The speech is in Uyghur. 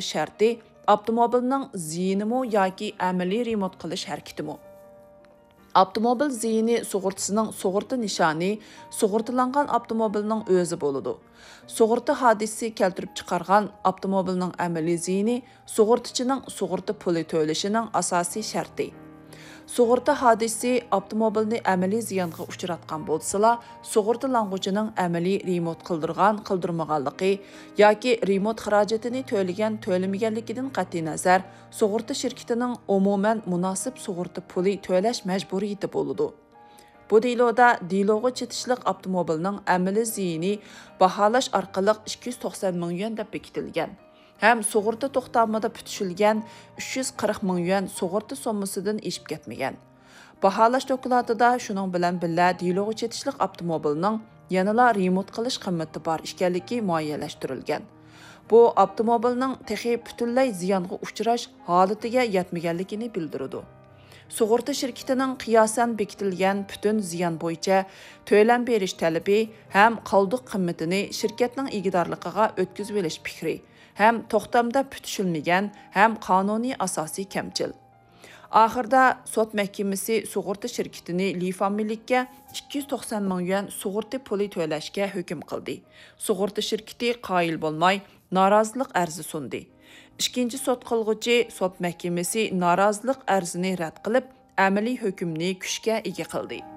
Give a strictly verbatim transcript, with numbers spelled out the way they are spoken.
شەرتى ئاپتوموبىلنىڭ زىيىنىمۇ ياكى ئەمەلىي رېمونت قىلىش ھەرىكىتىمۇ؟ ئاپتوموبىل زىيىنى سۇغۇرتىسىنىڭ سۇغۇرتا نىشانى سۇغۇرتىلانغان ئاپتوموبىلنىڭ ئۆزى بولىدۇ. سۇغۇرتا ھادىسىسى كەلتۈرۈپ چىقارغان ئاپتوموبىلنىڭ ئەمەلىي زىيىنى سۇغۇرتىچىنىڭ سۇغۇرتا پۇلى تۆلىشىنىڭ ئاساسىي شەرتى. سۇغۇرتا ھادىسىسى ئاپتوموبىلنى ئەمەلىي زىيانغا ئۇچراتقان بولسىلا، سۇغۇرتىلانغۇچىنىڭ ئەمەلىي رېمونت قىلدۇرغان-قىلدۇرمىغانلىقى ياكى رېمونت خىراجىتىنى تۆلىگەن-تۆلىمىگەنلىكىدىن قەتئىينەزەر، سۇغۇرتا شىركىتىنىڭ ئومۇمەن مۇناسىپ سۇغۇرتا پۇلى تۆلەش مەجبۇرىيىتى بولىدۇ. بۇ دېلودا دېلوغا چېتىشلىق ئاپتوموبىلنىڭ ئەمەلىي زىيىنى باھالاش ئارقىلىق ئىككى يۈز توقسان مىڭ يۈەن دەپ بېكىتىلگەن ھەم سۇغۇرتا توختامىدا پۈتۈشۈلگەن ئۈچ يۈز قىرىق مىڭ يۈەن سۇغۇرتا سوممىسىدىن ئېشىپ كەتمىگەن. باھالاش دوكلاتىدا شۇنىڭ بىلەن بىللە دېلوغا چېتىشلىق ئاپتوموبىلنىڭ يەنىلا رېمونت قىلىش قىممىتى بار ئىكەنلىكى مۇئەييەنلەشتۈرۈلگەن. بۇ ئاپتوموبىلنىڭ تېخى پۈتۈنلەي زىيانغا ئۇچراش ھالىتىگە يەتمىگەنلىكىنى بىلدۈرىدۇ. سۇغۇرتا شىركىتىنىڭ قىياسەن بېكىتىلگەن پۈتۈن زىيان بويىچە تۆلەم بېرىش تەلىپى ھەم قالدۇق قىممىتىنى شىركەتنىڭ ئىگىدارلىقىغا ئۆتكۈزۈۋېلىش پىكرى ھەم توختامدا پۈتۈشۈلمىگەن ھەم قانۇنىي ئاساسى كەمچىل. ئاخىرىدا سوت مەھكىمىسى سۇغۇرتا شىركىتىنى لى فامىلىككە ئىككى يۈز توقسان مىڭ يۈەن سۇغۇرتا پۇلى تۆلەشكە ھۆكۈم قىلدى. سۇغۇرتا شىركىتى قايىل بولماي، نارازىلىق ئەرزى سۇندى. ئىككىنچى سوت قىلغۇچى سوت مەھكىمىسى نارازىلىق ئەرزىنى رەت قىلىپ، ئەمەلىي ھۆكۈمنى كۈچكە ئىگە قىلدى.